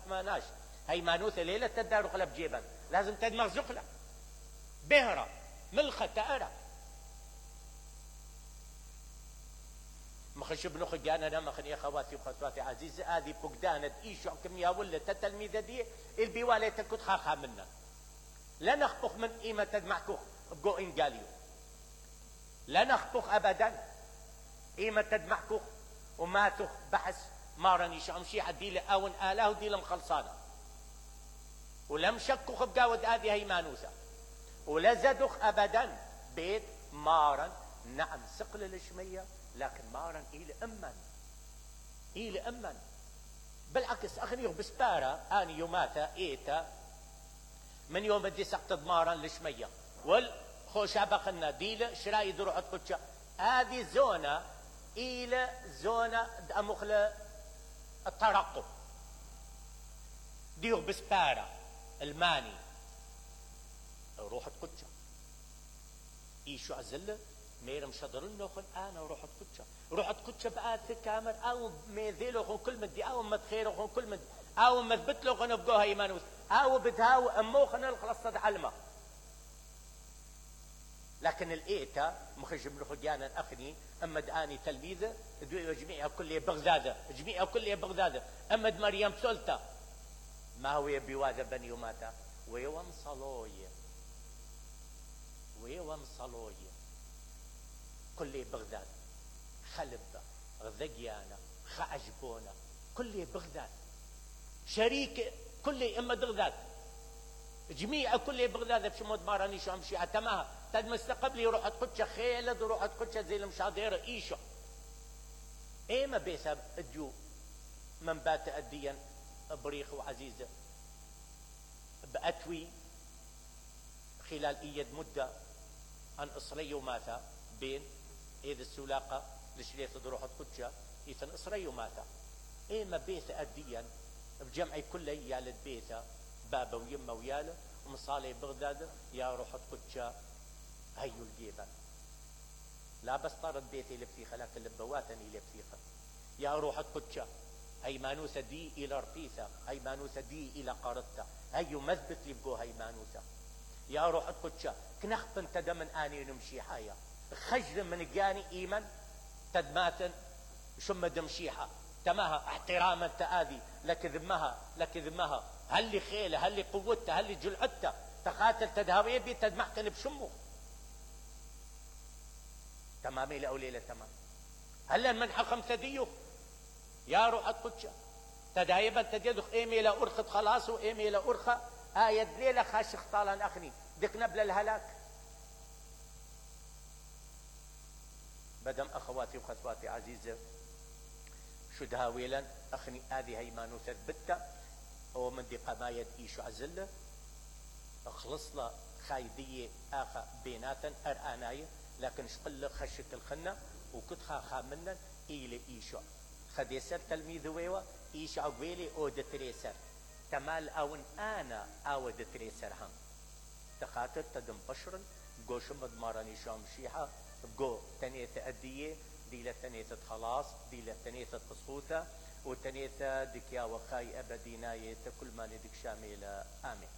ماناش هي مانوثة ليلة تدار قلب جيبا لازم تدمغ زقلة بهرة ملخة تأرة مخش بنخ جانا مخني اخواتي وخواتي عزيزة هذه فقدانة ايشو كمية ولا تتلميذة دي البيوالة تكت خاخا منا لا نخبخ من قيمة تدمعكوخ بقو انقاليو لا نخبخ ابدا قيمة تدمعكوخ وما تخ بحث مارني شو امشي ديله اون اله وديله مخلصانه ولم شكخ بقاود هذه هي مانوسه ولا زدخ ابدا بيت مارن نعم سقل الشميه لكن مارن الى امن بالعكس اخنيه بسباره اني يوماتا ايتا من يوم بدي سقط مارن الشميه والخوشابه خلنا ديله شرايد روح تقتش هذه زونه الى زونه امخله الترقب ديو بسباره الماني روح تقتش ايشو عزله ميرم شدرن نوخن انا روح تقتش روح تقتش بآت كامر او ميذيلو كل مدي او متخيرو كل مدي او مثبت له خن بقوها ايمانوس او بتهاو اموخن الخلاص علمه لكن الايتا مخرج من خجانا اخني اما داني تلميذه جميع كل بغداد جميع كل بغداد اما مريم سلطه ما هو بيواجه بني وماتا ويوم صلويه كل بغداد خلبه غذقيانا خعجبونا كل بغداد شريك كل اما بغداد جميع كل بغداد بشمود ماراني شو امشي عتماها تد مستقبلي روح تقتش خيلد وروح تقتش زي المشاضير ايشو ايما بيسب الجو من بات اديا بريخ وعزيزه باتوي خلال ايد مده ان اصري وماتا بين ايد السلاقه لشريت روح تقتش ايثن اصري وماتا ايما بيت اديا بجمعي كله يالد بيته بابا ويمه وياله ومصالي بغداد يا روح تقتش هيو الجيبان لا بس طارت بيتي لبثيخه لكن لبواتني لبثيخه يا روح تقتش هي مانوسه دي الى رقيثه هي مانوسه دي الى قارتها هيو مثبت لي بقو هي مانوسه يا روح تقتش كنخب انت دمن اني نمشي حياه خجل من جاني ايمن تدماتن شم دمشيحه تماها احتراما تآذي لكذمها هل لي خيله هل لي قوتها هل لي جلعتها تقاتل تدهوي بي تدمحتن بشمه تمامي لأوليلة تمام هلا المنحة 5 ديوخ يا روح تقتش تدايبا تديدخ ايمي لأرخت خلاص وايمي لأرخة آية ليلة خاشخ طالان اخني دك نبل الهلاك بدم اخواتي وخصواتي عزيزة شو دهاويلا اخني هذه هي ما نثبتها ومن دي قمايد ايشو عزله اخلصنا خايدية اخا بيناتا ارآناية لكن شقل خشك الخنة وكت خاخا منا ايلي ايشو خديسر تلميذ ويوا ايشو عقويلي او دتريسر تمال اون انا او دتريسر هم تخاطر تدم بشرن قوشم مدماراني شام شيحة قو تنية ادية ديلة تنية خلاص ديلة تنية قصوتة وتنية دكيا وخاي ابديناية كل ما ندك شاملة امين.